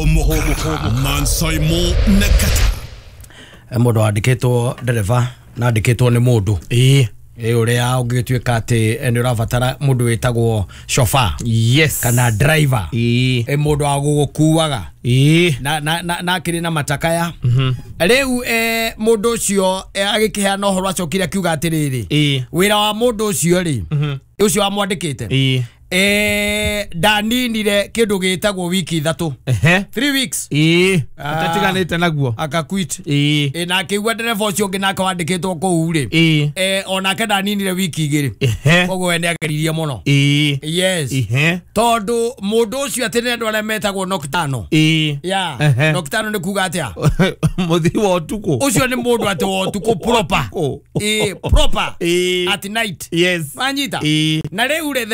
Hũmũka Mansaimo na Kata. Mũndũ wandĩkĩtwo ndereba na andĩkĩtwo nĩ mũndũ Ĩĩ. Ĩ ũrĩa ũngĩtuĩka atĩ nĩ ũrabatara mũndũ wĩtagwo chauffeur Yes. kana driver. Ĩĩ. Ĩ mũndũ wa gũgũkuaga Ĩĩ. na akĩrĩ na matakaya. Rĩu mũndũ ũcio agĩkĩheana ũhoro acokire akiuga atĩrĩrĩ, Ĩĩ. wĩra wa mũndũ ũcio rĩ, ũcio wamwandĩkĩte, Ĩĩ. ndaninire kĩndũ gĩtagwo wiki 3. Ehe. 3 weeks. Ĩĩ. Ah. Atatiganĩte naguo. Akaquit. Ĩĩ. Na akĩigua ndereba ũcio ũngĩ nake wandĩkĩtwo kũu rĩ, Ĩĩ. onake ndaninire wiki 2. Ehe. Koguo we nĩageririe mũno. Ĩĩ. Yes. Ehe. Tondũ mũndũ ũcio atĩ nĩ andũ arĩa metagwo nocturnal. Ĩĩ. Yeah. Ehe. Nocturnal nĩ kuga atĩa? Mũthii wa ũtukũ. Ũcio nĩ mũndũ atĩ wa ũtukũ proper. Ũtukũ. Ĩĩ, proper. Ĩĩ. At night. Yes. Wanyita? Ĩĩ. Na rĩu rĩ,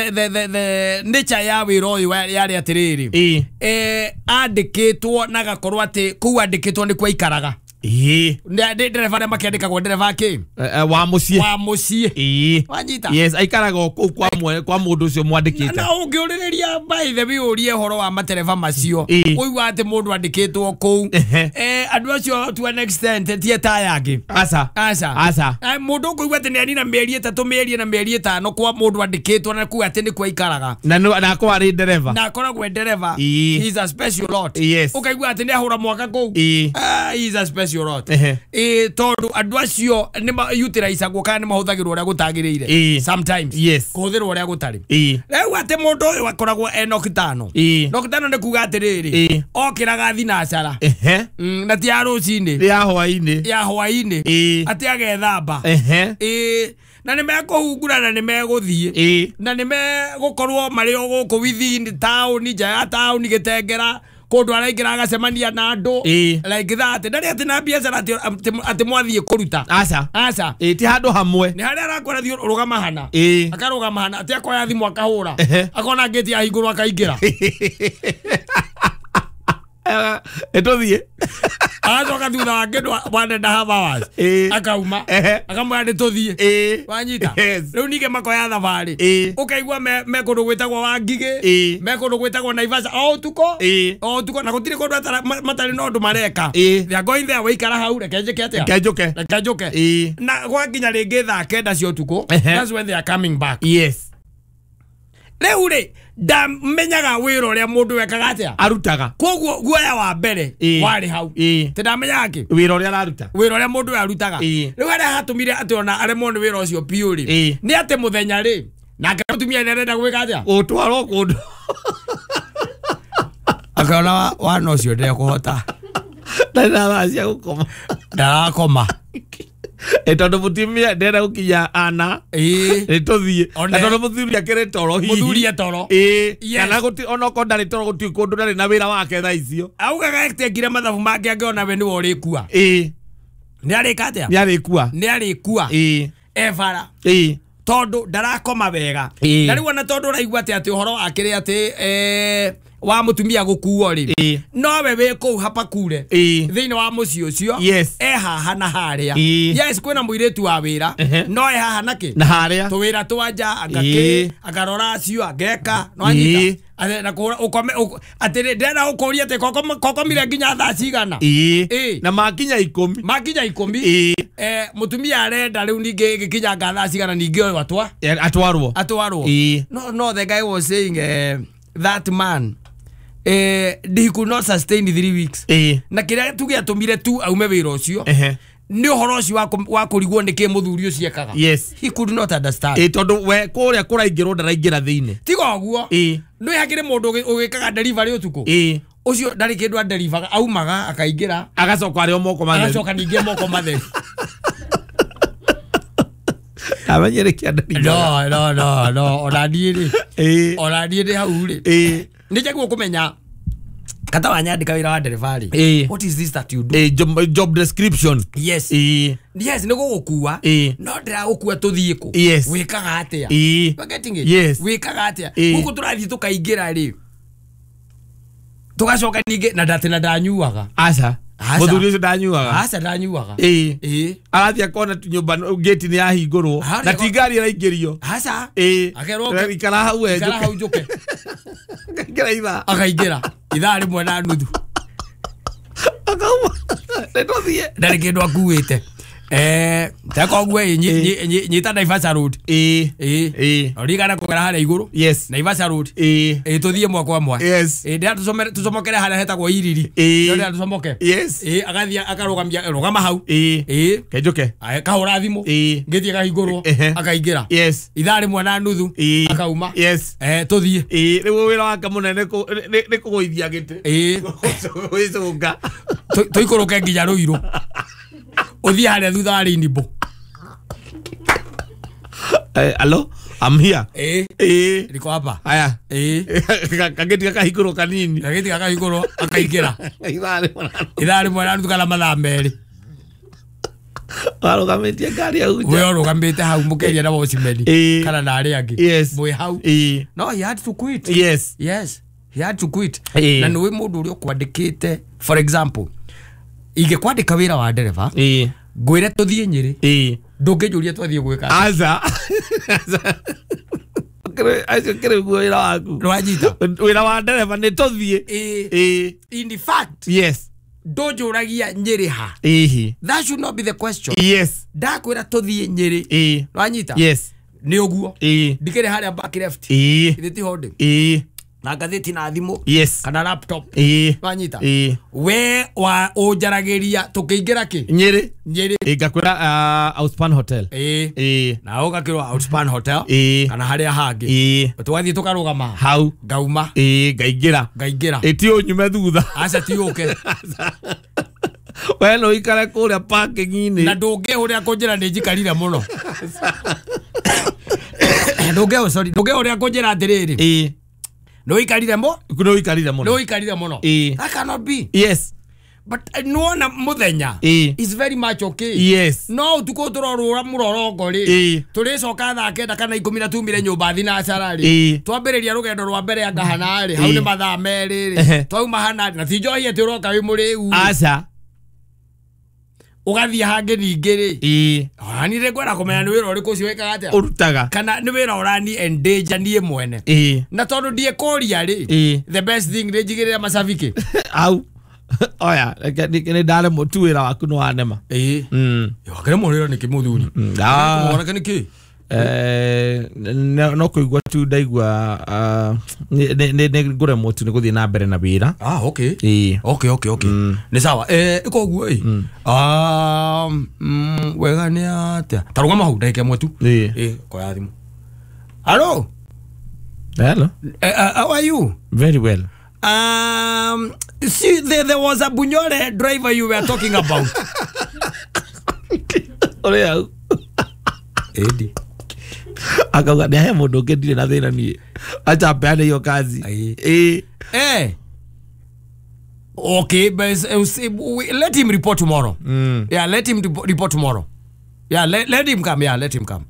the nature ya wĩra ũyũ yarĩ atĩrĩrĩ, Ĩĩ. Andĩkĩtwo na agakorwo atĩ kũu andĩkĩtwo nĩkuo aikaraga. Ĩĩ. Nĩ ndereba arĩa makĩandĩkagwo ndereba kĩ? Wa mũciĩ. Wa mũciĩ. Ĩĩ. Wanyita? Yes, aikaraga o kũu kwa mũndũ ũcio mwandĩkĩte. Na ũngĩũrĩrĩria by the way ũrie ũhoro wa matereba macio, Ĩĩ. ũigua atĩ mũndũ andĩkĩtwo kũu, Ehe. Andũ acio to an extent ti etaya angĩ. Aca. Aca. Aca. Mũndũ ũkũigua atĩ nĩanina mĩeri 3, mĩeri 4, mĩeri 5 kwa mũndũ andĩkĩtwo na kuga atĩ nĩkuo aikaraga. Na na akorwo arĩ ndereba. Na akoragwo e ndereba. Ĩĩ. He is a special lot. Yes. Ũkaigua atĩ nĩahũra mwaka kũu. Ĩĩ. He is a special lot. Ehe. Ĩĩ, tondũ andũ acio nĩ utilizagwo kana nĩ mahũthagĩrwo ũrĩa gũtagĩrĩire. Ĩĩ. Sometimes. Yes. Kũhũthĩrwo ũrĩa gũtarĩ. Ĩĩ. Rĩu atĩ mũndũ ũyũ akoragwo e nocturnal. Ĩĩ. Nocturnal nĩ kuga atĩrĩrĩ, Ĩĩ. okĩraga thinacara. Ehe. Na ti ya rũcinĩ. Ya hwaĩ-inĩ. Ya hwaĩ-inĩ. Ĩĩ. Atĩ agethamba. Ehe. Ĩĩ. Na nĩ mekũhungura na nĩ megũthiĩ. Ĩĩ. Na nĩ megũkorwo marĩ o gũkũ within taũni, nja ya taũni, gĩtengera kũndũ araingĩra agacemania na andũ. Ĩĩ. Like that. Ndarĩ atĩ na biacara atĩ mwathiĩ kũruta. Aca. Aca. Ĩĩ, ti handũ hamwe. Nĩ harĩa arakwĩra thiĩ rũgama hana. Ĩĩ. Akarũgama hana atĩ akoya thimũ akahũra. Ehe. Akona ngĩti yahingũrwo akaingĩra. Ĩtũthiĩ. Agacoka thutha wa kĩndũ 1.5 hours. Ĩĩ. Akauma. Ehe. Akamwĩra nĩ tũthiĩ. Ĩĩ. Wanyita? Yes. Rĩu ningĩ makoya thabarĩ. Ĩĩ. Ũkaigua me kũndũ gwĩtagwo Wangigĩ. Ĩĩ. Me kũndũ gwĩtagwo Naivasha o ũtukũ. Ĩĩ. O ũtukũ na gũtirĩ kũndũ matarĩ na ũndũ mareka. Ĩĩ. They are going there, waikara hau reke njĩke atĩa? Reke njũke. Reke njũke. Ĩĩ. Na gwakinya rĩngĩ thaa 9 cia ũtukũ. Ehe. That's when they are coming back. Yes. Rĩu rĩ, ndamenyaga wĩra ũrĩa mũndũ wekaga atĩa. Arutaga. Koguo guoya wa mbere Ĩĩ. warĩ hau. Ĩĩ. Tĩ ndamenyaga kĩ? Wĩra ũrĩa araruta. Wĩra ũrĩa mũndũ ũyũ arutaga. Ĩĩ. Rĩu harĩa hatũmire atĩ ona aremwo nĩ wĩra ũcio biũ rĩ, Ĩĩ. nĩ atĩ mũthenya rĩ, nake mũtumia nĩ arenda gwĩka atĩa? Gũtwarwo kũndũ. Akona wana ũcio ndekũhota. Ndarĩ na thaa cia gũkoma. Ndarakoma. Tondũ mũtumia ndenda gũkinya ana. Ĩĩ. Nĩ tũthiĩ. One. Na tondũ mũthuri akĩrĩ toro hihi. Mũthuri e toro. Ĩĩ. Yes. Kana onokorwo ndarĩ toro gũtirĩ kũndũ ndarĩ na wĩra wake thaa icio. Augaga atĩ mathabu make angĩona we nĩwe ũrĩkua. Ĩĩ. Nĩ arĩka atĩa? Nĩ arĩkua. Nĩ arĩkua. Ĩĩ. E bara. Ĩĩ. Tondũ ndarakoma wega. Ĩĩ. Na rĩu ona tondũ ũraigua atĩ ũhoro wakĩrĩ atĩ wa mũtumia gũkuo rĩ, Ĩĩ. nowe wĩ kũu hapakure. Ĩĩ. Thĩinĩ wa mũciĩ ũcio. Yes. E haha na harĩa. Ĩĩ. Yes, kwĩna mũirĩtu wa wĩra. Ehe. No e haha na kĩ? Na harĩa. Tũwĩra twa nja, angakĩ, Ĩĩ. akarora acio, angeka. No anyita. Ĩĩ. Atĩ na kũhũra ũkome atĩ ndĩrenda gũkũria atĩ kokomire nginya thaa cigana. Ĩĩ. Ĩĩ. Na makinya 10. Makinya 10. Ĩĩ. Mũtumia arenda rĩu ningĩ ĩgĩkinyanga thaa cigana ningĩ ũyũ Atwarwo. atwarwo. Ĩĩ. No, the guy was saying that man he could not sustain 3 weeks. Ĩĩ. Na kĩrĩa tu gĩatũmire tu aume wĩra ũcio Ehe. nĩ ũhoro ũcio wa kũrigwo nĩ kĩ mũthuri ũcio ekaga. Yes. He could not understand. Ĩĩ, tondũ we kũrĩa kũraingĩrwo ndaraingĩra thĩinĩ. Tiga ũguo. Ĩĩ. Nĩ hakĩrĩ mũndũ ũgĩkaga delivery ũtukũ. Ĩĩ. Ũcio ndarĩ kĩndũ adelivaga, aumaga akaingĩra. Agacoka arĩ o moko matheru. Agacoka ningĩ moko matheru. Amenyere kĩa ndelivaga. No, ona niĩ rĩ. Ĩĩ. Ona niĩ ndĩ hau rĩ. Ĩĩ. Nĩ njagĩrĩirwo kũmenya kata wanyandĩka wĩra wa ndereba rĩ. Ĩĩ. What is this that you do? Ĩĩ, job description. Yes. Ĩĩ. Yes, nĩ gũgũkua. Ĩĩ. No ndĩragũkua tũthiĩ kũ? Yes. Wĩkaga atĩa? Ĩĩ. You are getting it? Yes. Wĩkaga atĩa? Ĩĩ. Gũkũ tũrathiĩ tũkaingĩra rĩ, tũgacoka ningĩ na ndatĩ na ndanyuaga. Aca. Aca. Mũthuri ũcio ndanyuaga. Aca ndanyuaga. Ĩĩ. Ĩĩ. Arathiĩ akona nyũmba ngĩti nĩ yahingũrwo Harĩa na ti ngari ĩraingĩrio. Aca. Ĩĩ. Akerwo Ikara hau we ikara njũke. hau njũke. Akaingĩra ithaa. Akaingĩra ithaa 1.5. Akauma. Nĩ Ndarĩ kĩndũ akuĩte. Tekoguo nyita Naivasha Road. Ĩĩ. Ũririkana kũgera harĩa igũrũ. Yes. Naivasha Road. Ĩĩ. Ĩĩ tũthiĩ mwa kwa mwa. Yes. Ĩĩ ndĩra tũcomokere harĩa hetagwo Iriri. Ĩĩ. Ndĩra tũcomoke. Yes. Ĩĩ agathiĩ akarũgamia rũgama hau. Ĩĩ. Ĩĩ. Kenjũke. Kahũra thimũ. Ĩĩ. Ngĩthiĩ kahingũrwo. Ehe. Akaingĩra. Yes. Ithaa rĩmwe na nuthu. Ĩĩ. Akauma. Yes. Tũthiĩ. Ĩĩ rĩu wĩra wake mũnene nĩ kũgũithia gĩtĩ. Ĩĩ. Gwĩcũnga. Tũikũrũke nginya Rũirũ. Ũthiĩ harĩa thutha wa Rainbow. Hello, I'm here. Ĩĩ. Ĩĩ. Niko hapa. Aya. Ĩĩ. Kagĩti gakahingũrwo kanini. Gagĩti gakahingũrwo akaingĩra. Ithaa rĩmwe na nuthu. Ithaa rĩmwe na nuthu kana mathaa merĩ. Warũgamĩtie ngari hau nja. We ũrũgamĩte hau mũkĩaria na watchman Ĩĩ. kana na arĩa angĩ. Yes. Mwĩ hau. Ĩĩ. No, he had to quit. Yes. Yes. He had to quit. Ĩĩ. Na nĩũĩ mũndũ ũrĩa ũkwandĩkĩte, for example, ingĩkwandĩka wĩra wa ndereba, Ĩĩ. ngwĩre tũthiĩ Nyĩrĩ, Ĩĩ. ndũngĩnjũria twathiĩ gwĩka atĩa. Aca. Acio kĩrĩ guo wĩra waku. Nĩwanyita? Wĩra wa ndereba nĩ tũthiĩ. Ĩĩ. Ĩĩ. In fact, Yes. ndũnjũragia Nyĩrĩ ha. Ĩĩ. That should not be the question. Yes. Ndakwĩra tũthiĩ Nyĩrĩ. Ĩĩ. Nĩwanyita? Yes. Nĩ ũguo. Ĩĩ. Ndikĩrĩ harĩa back left. Ĩĩ. Ithe tiho ndĩ. Ĩĩ. Na ngathĩti na thimũ. Yes. Kana laptop. Ĩĩ. Nĩwanyita? Ĩĩ. We wa ũnjaragĩria tũkĩingĩra kĩ? Nyĩrĩ. Nyĩrĩ. Ĩĩ ngakwĩra Outspan Hotel. Ĩĩ. Ĩĩ. Na ũgakĩrwo Outspan Hotel. Ĩĩ. Kana harĩa hangĩ. Ĩĩ. Tũgathiĩ tũkarũgama. Hau. Ngauma. Ĩĩ ngaingĩra. Ngaingĩra. Ĩĩ ti ũnyume thutha. Aca ti ũke. We no ũikare kũrĩa parking-inĩ. Na ndũngĩhũrĩra kũnjĩra nĩ njikarire mũno. Ndũngĩhũrĩra kũnjĩra atĩrĩrĩ. Ĩĩ. Nĩ ũikarire mo? Nĩ ũikarire mũno. Nĩ ũikarire mũno. Ĩĩ. That cannot be. Yes. But nĩwona mũthenya Ĩĩ. is very much okay. Yes. No ũtukũ tũrorũra mũrorongo rĩ. Ĩĩ. Tũrĩcoka thaa kenda kana ikũmi na tumire nyũmba thinacara rĩ. Ĩĩ. Twambĩrĩria rũgendo rwa mbere anga hana rĩ. Hau Ĩĩ. nĩ mathaa merĩ rĩ. Ehe. Twauma hana rĩ. Na ti njohi atĩ ũroka wĩ mũrĩu. Aca. Ũgathiĩ hangĩ ningĩ rĩ. Ĩĩ. Ona niĩ nĩngwenda kũmenya nĩ wĩra ũrĩkũ ũcio wĩkaga atĩa. Ũrutaga. Kana nĩ wĩra ũrani endanger niĩ mwene. Ĩĩ. Na tondũ ndiekũria rĩ. Ĩĩ. The best thing nĩ njigĩrĩre macabiki. Au. Oya, nĩ ndaremwo tu wĩra waku nĩ wanema. Ĩĩ. Wakĩremwo wĩra nĩkĩ mũthuri? Mwanake nĩkĩ? No kũigua tu ndaigua nĩ ngũremwo tu nĩ gũthiĩ na mbere na wĩra. Ah, okay. Ĩĩ. Okay, okay, okay. Nĩ sawa. Ĩko ũguo ĩ. Wega nĩ atĩa? Ta rũgama hau ndagĩka ĩmwe tu. Ĩĩ. Ĩĩ, koya thimũ. Hello. Hello. How are you? Very well. See, there was a Bunyore driver you were talking about. Ũrĩa hau. Edi. Akauga nĩ ahe mũndũ ũngĩ ndirĩ na thĩna niĩ. Acha mpeane hiyo kazi. Ĩĩ. Ĩĩ. Okay, but let him report tomorrow. Yeah, let him report tomorrow. Yeah, let him come. Yeah, let him come.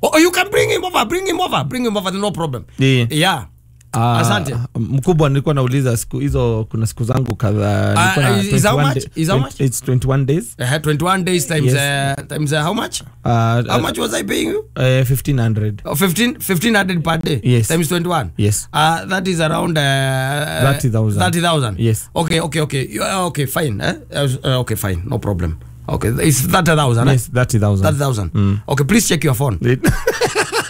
Oh, you can bring him over. Bring him over. Bring him over. No problem. Yeah. Yeah. Asante. Mkubwa nilikuwa nauliza siku hizo kuna siku zangu kadhaa. Is how much? Is how much? It's 21 days. 21 days times yes. Times how much? How much was I paying you? 1500. Oh, 1500 per day. Yes. Times 21. Yes. That is around 30,000. 30,000. Yes. Okay, okay, okay. Okay, fine. Okay, fine. No problem. Okay, it's 30,000. Yes, 30,000. 30,000. Okay, please check your phone.